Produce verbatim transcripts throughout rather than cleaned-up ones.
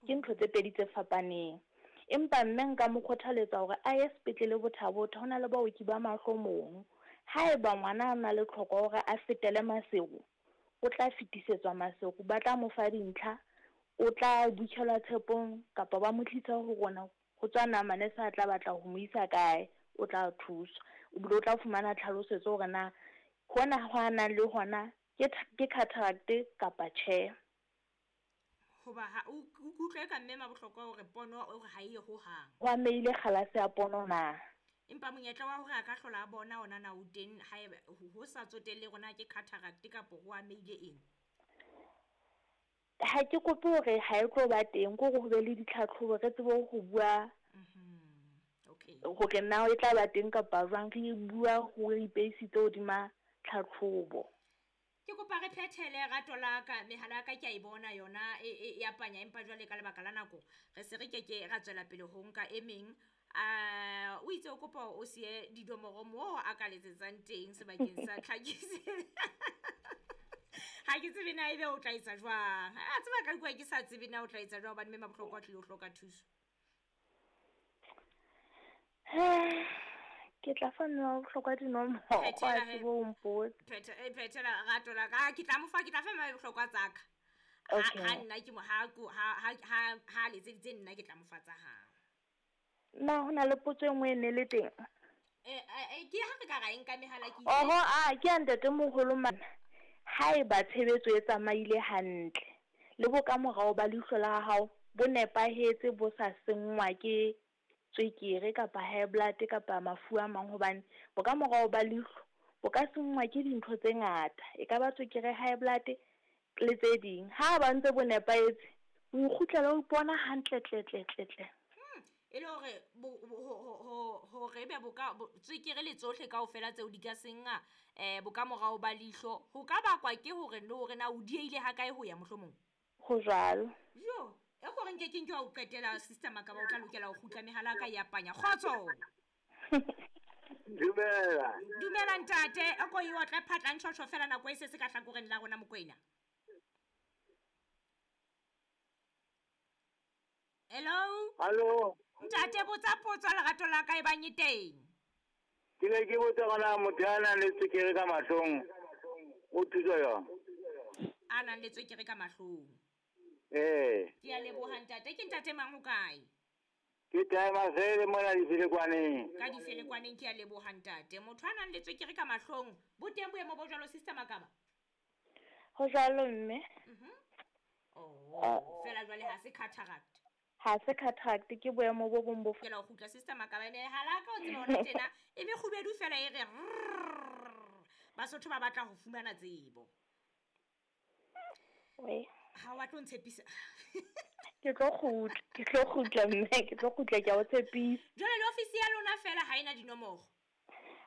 Ke ntho tse pedi tse fapaneng. Empa mme nka mo kgothaletsa hore a ye sepetlele Botha-Bothe, ho na le baoki ba mahlo mono. Haeba ngwana a na le tlhoko ya hore a fetele Maseru, o tla fetisetswa Maseru, ba tla mo fa dintlha, o tla butjhelwa tshepong kapa ba mo tlisa ho rona ho tswa namane sa tla batla ho mo isa kae, o tla thuswa. O bile o tla fumana tlhalosetso hore na hona ho a nang le hona ke ke cataract kapa tjhe. Hoba ha o utlwe ka mme mabohlokwa hore pono o re ha e ho hang. Ho amehile kgalase ya pono na? Empa monyetla wa hore a ka hlola a bona ona na o teng haeba ho sa tsotelle rona ke cataract kapa ho amehile eng? Ha ke kope hore ha e tlo ba teng, ke hore ho be le ditlhatlhobo re tsebe ho bua Okay. hore na e tla ba teng kapa jwang, re bua ho re ipeisitse hodima tlhatlhobo. Ke kopa re phethele rato la ka, mehala ya ka ke a e bona yona e e ya panya, empa jwale ka lebaka la nako re se re keke ra tswela pele ho nka e meng. A o itse o kopa o siye dinomoro moo a ka letsetsang teng sebakeng sa tlhakisetso. Ha ke tsebe na ebe o tla etsa jwang. A tseba ka kwa ke sa tsebe na o tla etsa jwang hobane mme mabohlokwa o tlile ho hloka thuso. Ke tla fa mme wa bohlokwa dinomoro, a Phethela he. tsebe ho mpotsa. Phethe eh, phethela rato la ka. Ke tla mo fa, ke tla fa mme bohlokwa tsa ka. Ha Okay. ha nna ke mo ha ko ha ha ha ha letseditse nna ke tla mo fa tsa hao. Na ho na le potso e nngwe e ne le teng? Eh eh ke ha re ka ra e nka mehala ke Oho, a ke ya ntatemoholo mana. Haeba tshebetso e tsamaile hantle le bokamorao ba leihlo la hao bo nepahetse, bo sa senngwa ke tswekere kapa high blood kapa mafu a mang, hobane bokamorao ba leihlo bo ka senngwa ke dintho tse ngata. E ka ba tswekere, high blood le tse ding. Ha ba ntse bo nepahetse, o ikgutlela o ipona hantle tle tle tle tle. E le hore bo ho ho hore ebe bo ka tswekere le tsohle kaofela tseo di ka senga eh bokamorao ba leihlo, ho ka bakwa ke hore le hore na o dieile ha kae ho ya mohlomong. Ho jwalo. Jo, e ko re nke ke nke wa o qetela sister Makaba, o tla lokela ho kgutla mehala ka ya panya. Kgotso. Dumela. Dumela ntate, e ko e otle phatla ntjhotjho fela nako e se se ka hlakoreng la rona Mokoena. Hello. Hallo. Ntate, botsa potso lerato la ka e bang e teng. Ke ne ke botsa hore motho ya nang le tswekere ka mahlong o thuswa jwang? A nang le tswekere ka mahlong. Eh. Ke a leboha ntate. Ke ntate mang ho kae? Ke Timer Fele mona Difelekwaneng. Ka Difelekwaneng, ke a leboha ntate. Motho a nang le tswekere ka mahlong, bo teng boemo bo jwalo sister Makaba? Ho jwalo mme. Mhm. Oh, fela jwale ha se cataract. Ha se cataract, ke boemo bo bong bo Ke la ho kgutla sister Makaba, ene hala ka o tseba hona tjena e mekgubedu fela e re rrrr. Basotho ba batla ho fumana tsebo. We. Ha wa tlo ntshepisa. Ke tlo kgutla, ke tlo kgutla mme, ke tlo kgutla, ke a o tshepisa. Jwale le ofisi ya lona fela ha ena dinomoro?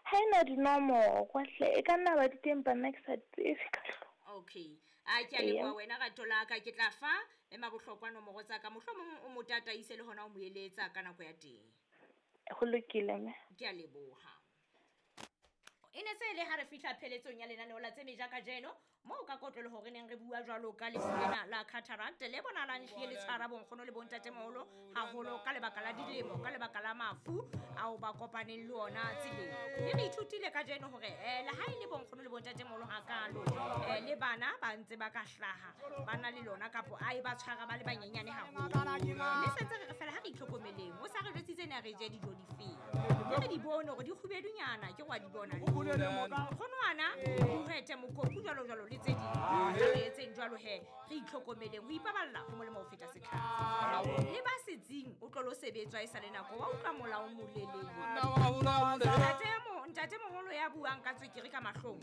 Ha ena dinomoro hle, e ka nna ba di teng empa nna ke sa di tsebe ka hlooho. Okay. A ke a leboha wena rato la ka, ke tla fa ema bohlokwa nomoro tsa ka, mohlomong o mo tataise le hona o mo eletsa ka nako ya teng. Ho lokile mme. Ke a leboha. E ne se le ha re fihla pheletsong ya lenaneo la tse meja kajeno, moo ka kotloloho hore neng re bua jwalo ka lefu lena la cataract le bonahalang ehlile le tshwara bonkgono le bontatemoholo haholo ka lebaka la dilemo, ka lebaka la mafu ao ba kopaneng le ona tseleng. Mme re ithutile kajeno hore eh le ha e le bonkgono le bontatemoholo hakalo, eh le bana ba ntse ba ka hlaha ba na le lona kapo a e ba tshwara ba le banyenyane haholo. Mme sentse re re fela ha re itlhokomeleng, o sa re jwetsitse ne re je dijo difeng, mme re di bone hore di kgubedunyana, ke wa di bona le nkgonwana, dihwete, mokopu jwalo jwalo le tse ding. Re etseng jwalo he, re itlhokomeleng, ho ipaballa ho molemo ho feta setlhare. Le ba setsing o tlo lo sebetswa e sa le nako, wa utlwa molao o molelele. Ntate mo, ntate moholo ya buang ka tswekere ka mahlong.